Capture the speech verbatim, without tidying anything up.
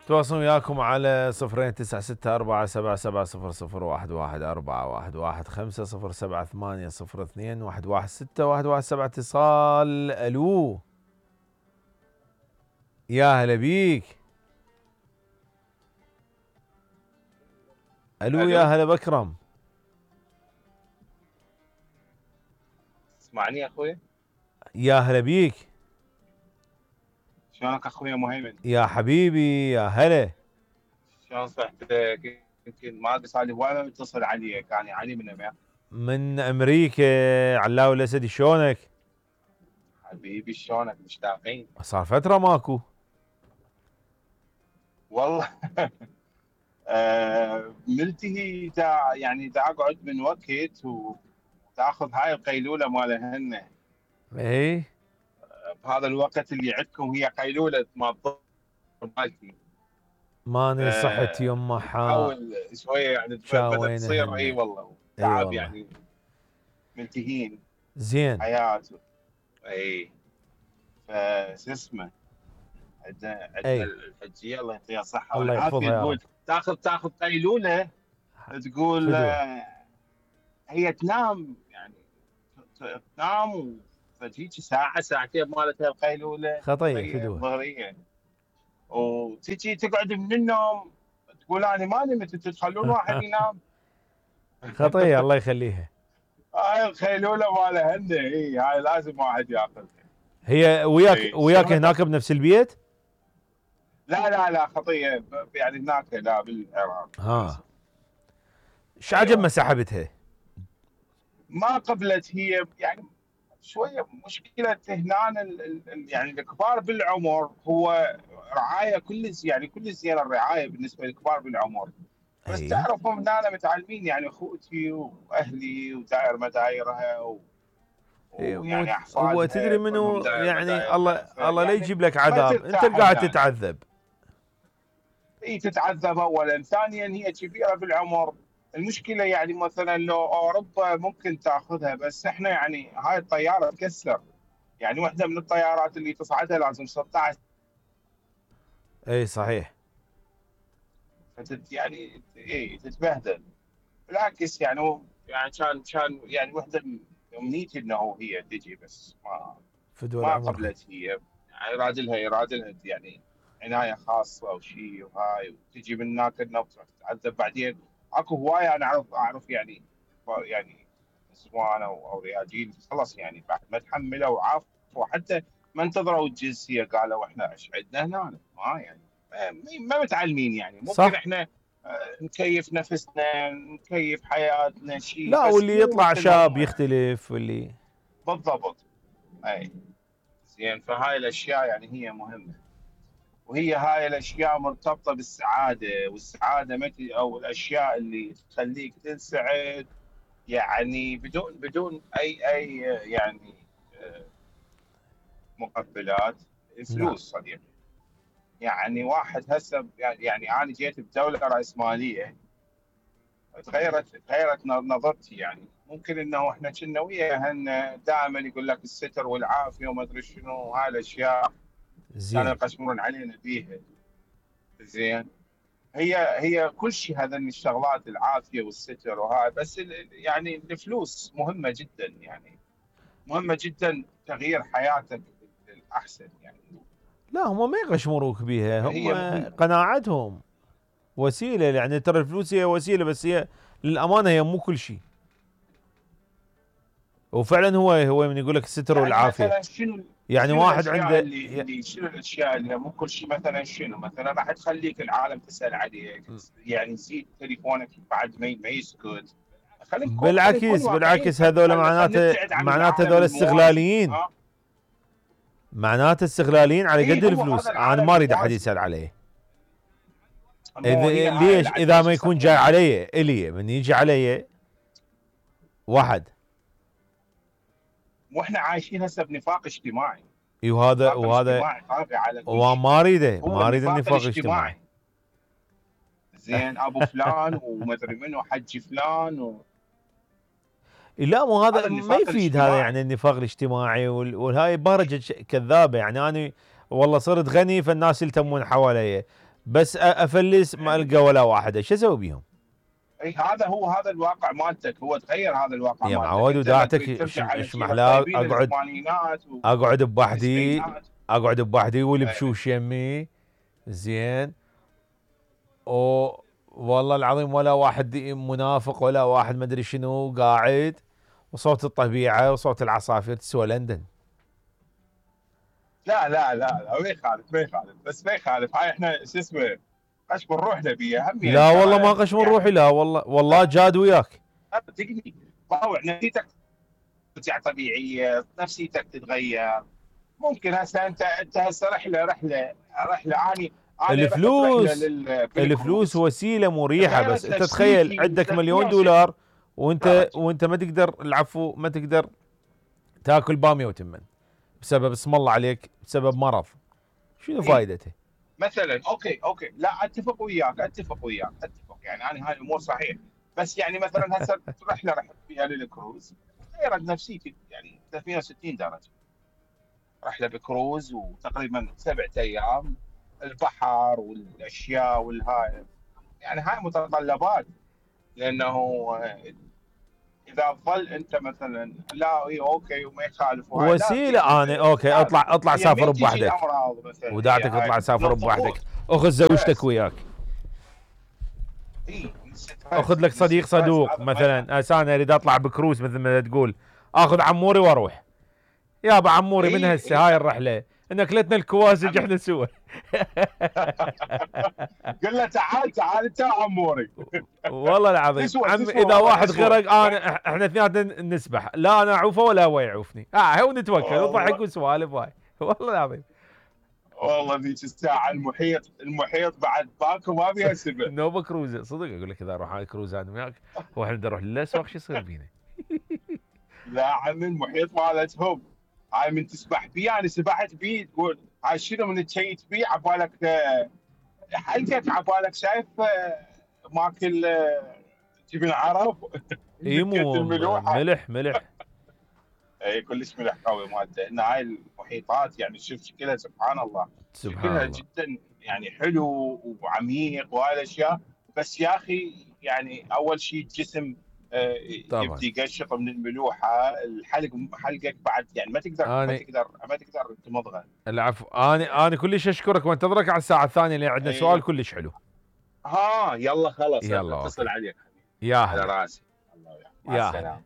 تواصل وياكم على صفرين تسعة ستة أربعة سبعة سبعة صفر صفر واحد واحد أربعة واحد واحد خمسة صفر سبعة ثمانية صفر اثنين واحد واحد ستة واحد واحد سبعة. اتصال. الو يا هلا بيك. الو يا هلا بكرم. اسمعني يا اخوي. يا هلا بيك. شلونك اخوي مهيمن؟ يا حبيبي يا هلا. شلون صحتك؟ يمكن ما ادري صار لي هواي ما متصل عليك، يعني علي من امريكا. من امريكا. علاوي الاسدي شلونك؟ حبيبي شلونك؟ مشتاقين. صار فترة ماكو. والله آه ملتهي دا يعني دا اقعد من وقت وتاخذ هاي القيلولة مالهن. اي بهذا الوقت اللي عندكم هي قيلولة ما الظهر مالتي. ماني صحت يمه حاول شويه يعني بدأت تصير. اي والله تعب يعني ملتهين. زين حياه. اي فشو اسمه عندنا عندنا الحجيه الله يعطيها الصحه والعافيه تقول تاخذ تاخذ قيلوله تقول آه هي تنام يعني تنام فتجيك ساعه ساعتين مالتها القيلوله خطيه فدوه الظهريه وتجي تقعد من النوم تقول انا ما نمت انتم تخلون واحد ينام. خطيه الله يخليها. هاي الخيلوله مالها هن اي هاي لازم واحد ياخذها. هي وياك ايه وياك هناك بنفس البيت؟ لا لا لا خطيه يعني هناك لا بالعراق. ها ايش عجب ما سحبتها؟ ما قبلت هي يعني شويه مشكله هنا يعني الكبار بالعمر هو رعايه كلش يعني كلش زين الرعايه بالنسبه للكبار بالعمر. بس أيه. تعرفهم ان انا متعلمين يعني اخوتي واهلي وداير مدايرها و... ويعني احفادها. هو تدري منو يعني الله الله لا يجيب لك عذاب انت قاعد تتعذب. اي تتعذب اولا، ثانيا هي كبيره بالعمر. المشكله يعني مثلا لو اوروبا ممكن تاخذها بس احنا يعني هاي الطياره تكسر يعني واحده من الطيارات اللي تصعدها لازم ستة عشر. اي صحيح. فتت يعني اي تتبهدل. بالعكس يعني يعني كان كان يعني واحده امنيتي انه هي تجي بس ما ما قبلت هي يعني راجلها يرادلها يعني عنايه خاصه او شيء وهاي وتجي من هناك النفط تتعذب بعدين. اكو هوايه انا اعرف اعرف يعني يعني نسوان او او رياجيل خلص يعني بعد ما تحملوا وعافوا حتى ما انتظروا الجنسيه قالوا احنا ايش عندنا هنا ما يعني ما متعلمين يعني ممكن صح. احنا نكيف نفسنا نكيف حياتنا شيء لا واللي يطلع شاب يختلف واللي بالضبط. اي زين فهاي الاشياء يعني هي مهمه وهي هاي الاشياء مرتبطه بالسعاده والسعاده متى او الاشياء اللي تخليك تنسعد يعني بدون بدون اي اي يعني مقبلات الفلوس صديقي. يعني واحد هسه يعني انا جيت بدوله راسماليه تغيرت تغيرت نظرتي يعني ممكن انه احنا كنا وياهن دائما يقول لك الستر والعافيه وما ادري شنو هاي الاشياء كانوا يقسمون علينا بيها. زين هي هي كل شيء هذا من الشغلات العافيه والستر وهاي بس يعني الفلوس مهمه جدا يعني مهمه جدا تغيير حياتك للاحسن يعني. لا هم ما يقشمروك بيها هم قناعتهم وسيله يعني ترى الفلوس هي وسيله بس هي للامانه هي مو كل شيء. وفعلا هو هو من يقول لك الستر يعني والعافيه مثلا شنو يعني شنو واحد عنده اللي, اللي شنو الاشياء اللي مو كل شيء مثلا شنو مثلا راح تخليك العالم تسال عليك يعني زيد تليفونك بعد ما ما يسكت. بالعكس بالعكس هذول معناته معناته هذول استغلاليين معناته استغلاليين على قد الفلوس. انا ما اريد احد يسال عليه. إذا ليش اذا ما يكون جاي علي الي من يجي علي واحد واحنا عايشين هسه بنفاق اجتماعي. اي وهذا وهذا وما اريده ما اريد النفاق الاجتماعي. زين ابو فلان وما ادري منو حج فلان و... لا مو هذا ما يفيد هذا يعني النفاق الاجتماعي وهاي بهرجه كذابه يعني انا والله صرت غني فالناس يلتمون حوالي بس افلس ما القى ولا واحده، شو اسوي بيهم؟ اي هذا هو هذا الواقع مالتك، هو تغير هذا الواقع يا مالتك. معود وداعتك ايش محلاه اقعد اقعد بوحدي اقعد بوحدي والبشوش يمي زين، و والله العظيم ولا واحد منافق ولا واحد ما ادري شنو قاعد، وصوت الطبيعه وصوت العصافير تسوى لندن. لا لا لا لا ما يخالف ما يخالف بس ما يخالف، هاي احنا شو اسمه قش من روحنا بيها هم. لا والله ما قش من روحي، لا والله والله جاد وياك. تقني طاوع نفسيتك ترجع طبيعيه، نفسيتك تتغير. ممكن هسه انت انت هسه رحله رحله رحله اني الفلوس الفلوس وسيله مريحه، بس انت تخيل عندك مليون دولار وانت وانت ما تقدر العفو ما تقدر تاكل باميه وتمن بسبب اسم الله عليك بسبب مرض، شنو فائدته؟ مثلا اوكي اوكي لا اتفق وياك اتفق وياك اتفق يعني انا هاي الامور صحيح، بس يعني مثلا هسه رحله رحت فيها للكروز غيرت نفسيتي يعني ثلاثمئة وستين درجه. رحله بكروز وتقريبا سبعة ايام، البحر والاشياء والهاي يعني هاي متطلبات، لانه اذا ظل انت مثلا لا اي اوكي وما يخالف وسيله انا اوكي اطلع اطلع سافر بوحدك وداعتك اطلع سافر بوحدك، اخذ زوجتك وياك، اخذ لك صديق صدوق مثلا. هسه انا اريد اطلع بكروز مثل ما تقول، اخذ عموري واروح يابا عموري من هسه هاي الرحله نكلتنا الكوازج احنا سوا. قل له تعال تعال انت عموري. والله العظيم عم اذا واحد غرق انا احنا اثنيناتنا نسبح، لا انا اعوفه ولا هو يعوفني، اه هو نتوكل وضحك وسوالف هاي. والله العظيم والله ذيك الساعه المحيط المحيط بعد باكو ما بيها سبب. نوبه كروزه صدق اقول لك اذا اروح على كروز انا وياك واحنا بدنا نروح للاسواق شو يصير فينا؟ لا عمي المحيط مالتهم هاي من تسبح بيه، انا سبحت بيه تقول هاي شنو من تشيت بيه عبالك حلقك عبالك شايف ماكل جبن عرب. ايمو ملح ملح. اي كلش ملح قوي مالته، ان هاي المحيطات يعني شوف شكلها سبحان الله سبحان شكلها الله جدا يعني حلو وعميق وهاي الاشياء، بس يا اخي يعني اول شيء الجسم يبدي يقشط من الملوحه، الحلق حلقك بعد يعني ما تقدر ما تقدر ما تقدر تمضغه. العفو انا انا كلش اشكرك وانتظرك على الساعه الثانيه اللي عندنا أيه. سؤال كلش حلو. ها يلا خلاص يلا اتصل عليك يا على راسي. الله يا